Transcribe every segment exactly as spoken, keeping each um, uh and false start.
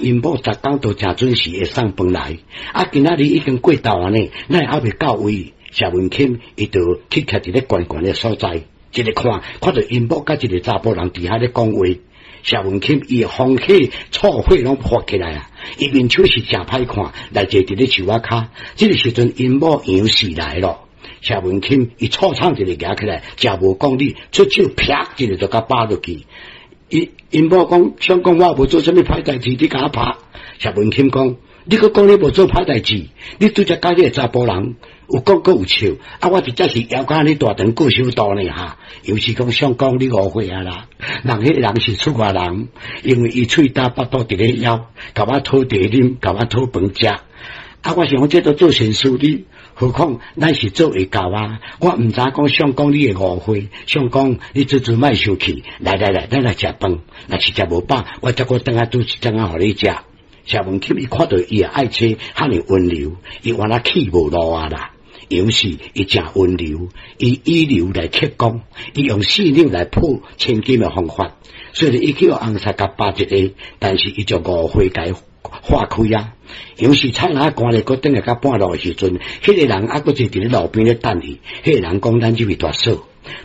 𪜶某逐工都誠準時會送飯來，啊，今仔日已經過晝啊呢，哪會猶未到位？謝文欽伊就去徛佇咧懸懸的所在，一个看，看著𪜶某佮一個查埔人佇遐咧講話。謝文欽伊的風火醋火攏發起來啊！伊面手是誠歹看，來坐佇咧樹仔跤。這个時陣𪜶某楊氏來咯。謝文欽伊醋廠一个舉起來，誠無講理，出手啪一个就共拍落去。伊𪜶某講，想講我無做啥物歹代誌，你共我拍。謝文欽講，你閣講你無做歹代誌，你拄才佮彼个查埔人有講閣有笑，啊！我直接是枵甲按呢大腸過首大呢哈。楊氏講相公你誤會啊啦，人彼个人是出外人，因為伊喙焦腹肚佇咧枵，共我討茶啉，共我討飯食。啊！我想講這都做善事，你何況咱是做會到啊！我毋知講相公你會誤會，相公你做做莫生氣，來來來，咱來食飯。若是食無飽，我才閣轉來煮一頓仔予你食。謝文欽伊看著伊的愛妻遐爾溫柔，伊原來氣無路啊啦。楊氏伊誠溫柔，伊以柔來克剛，伊用四兩來破千金的方法。雖然伊去予翁婿共巴一下，但是伊就誤會共化開啊。楊氏菜籃趕咧，閣轉來到半路的時陣，彼個人猶閣坐佇咧路邊咧等伊。彼個人講：咱這位大嫂，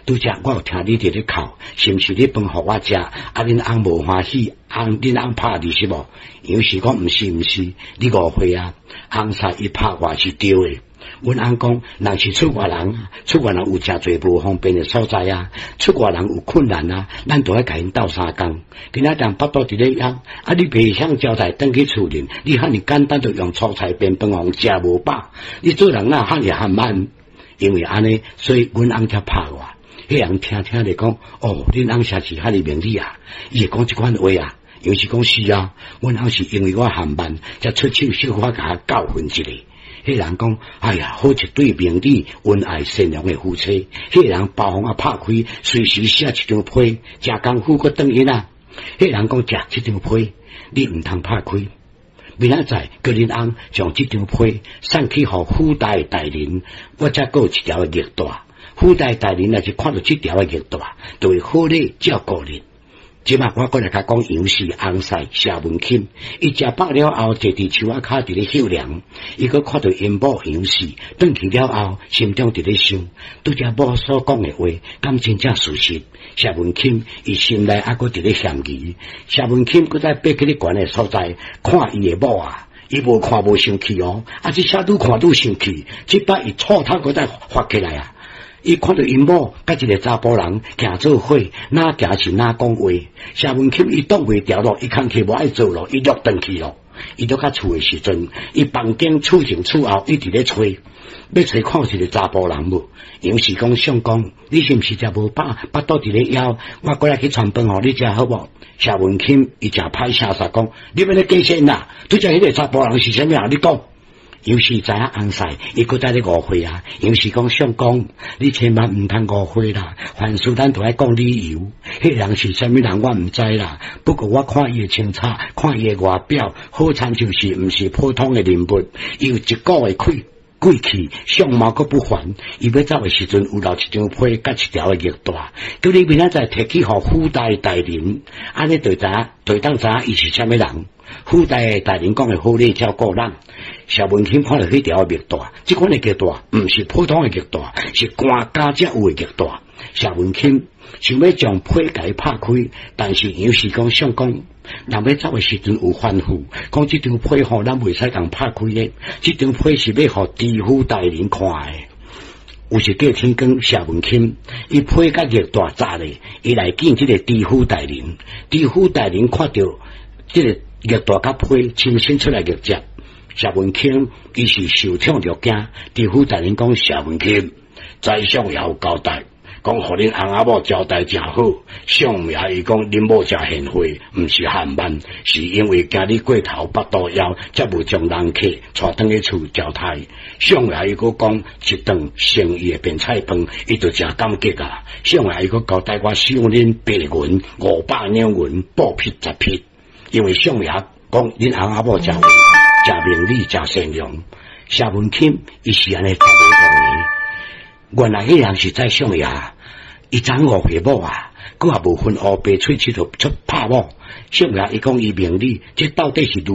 拄才我有聽你佇咧哭，是毋是你飯予我食？啊，恁翁無歡喜，翁恁翁拍你是無？楊氏講毋是毋是，你誤會啊！翁婿伊拍我是對的。阮翁講，人是出外人，出外人有誠濟無方便的所在啊，出外人有困難啊，咱都愛共𪜶鬥相共。今仔日腹肚佇咧枵，啊，你袂曉交代轉去厝裡，你遐爾簡單就用粗菜便飯予食無飽，你做人哪遐爾含慢？因為按呢，所以阮翁才拍我。彼人聽聽咧講，哦，恁翁實是遐爾明理啊！伊會講這款話啊，楊氏講是啊，阮翁是因為我含慢，才出手小可共我教訓一下。彼人講，哎呀，好一對明理、恩愛、善良的夫妻。彼人包袱仔拍開，隨時寫一張批，誠功夫閣轉去啊。彼人講，食這張批，你毋通拍開。明仔載叫恁翁將這張批送去予府大大人，我才閣有一條的玉帶。府大大人若是看著這條的玉帶，就會好禮照顧恁。這馬我閣來共講楊氏翁婿謝文欽，伊食飽了後，坐佇樹仔跤佇咧歇涼，伊閣看著𪜶某楊氏轉去了後，心中佇咧想，拄才某所講的話，敢真正事實？謝文欽伊心內猶閣佇咧嫌疑。謝文欽閣再爬去咧懸的所在，看伊的某啊，伊無看無生氣哦，啊，這下愈看愈生氣，這擺伊醋頭閣再發起來啊！伊看著𪜶某佮一個查埔人行做伙，哪行是哪講話。謝文欽伊擋袂牢咯，伊工課無愛做咯，伊落轉去咯。伊倒較厝的時陣，伊房間厝前厝後一直咧揣，欲揣看有一個查埔人無？楊氏講相公，你是毋是食無飽，腹肚佇咧枵？我過來去傳飯予你食好無？謝文欽伊誠歹聲煞講，你欲咧假仙啦？拄才彼個查埔人是啥物人？你講。楊氏知影翁婿，伊閣在咧誤會啊！楊氏講相公，你千萬毋通誤會啦！凡事咱都愛講理由。彼個人是啥物人，我毋知啦。不過我看伊的穿插，看伊的外表，好親像是毋是普通的人物，伊有一股的氣貴氣，相貌閣不凡。伊欲走的時陣，有留一張批佮一條的玉帶，叫你明仔載提去予府大大人，按呢就知影，就會當知影伊是啥物人。府大的大人講的好禮照顧咱。謝文欽看著彼條玉帶，這款的玉帶毋是普通的玉帶，是官家才有的玉帶。謝文欽想欲將批共伊拍開，但是楊氏講相公，人欲走的時陣有吩咐，講這張批吼，咱袂使共拍開的，這張批是欲予知府大人看的。有時過天光，謝文欽伊批佮玉帶紮咧，伊來見這個知府大人。知府大人看著這個玉帶佮批，親身出來迎接。謝文欽伊是受寵若驚，知府大人講謝文欽，宰相也有交代，講予恁翁仔某招待誠好。相爺伊講恁某誠賢惠，毋是含慢，是因為驚你過頭腹肚枵，才無將人客帶轉去厝招待。相爺伊閣講一頓誠意的便菜飯，伊就誠感激啊。相爺伊閣交代我賞恁白銀五百兩銀，布匹十匹，因為相爺講恁翁仔某誠誠明理，誠善良。謝文欽伊是按呢讀袂講的，原來彼人是宰相爺，伊怎誤會某啊？閣也無分烏白喙齒就出拍某。小明伊講伊明理，這到底是如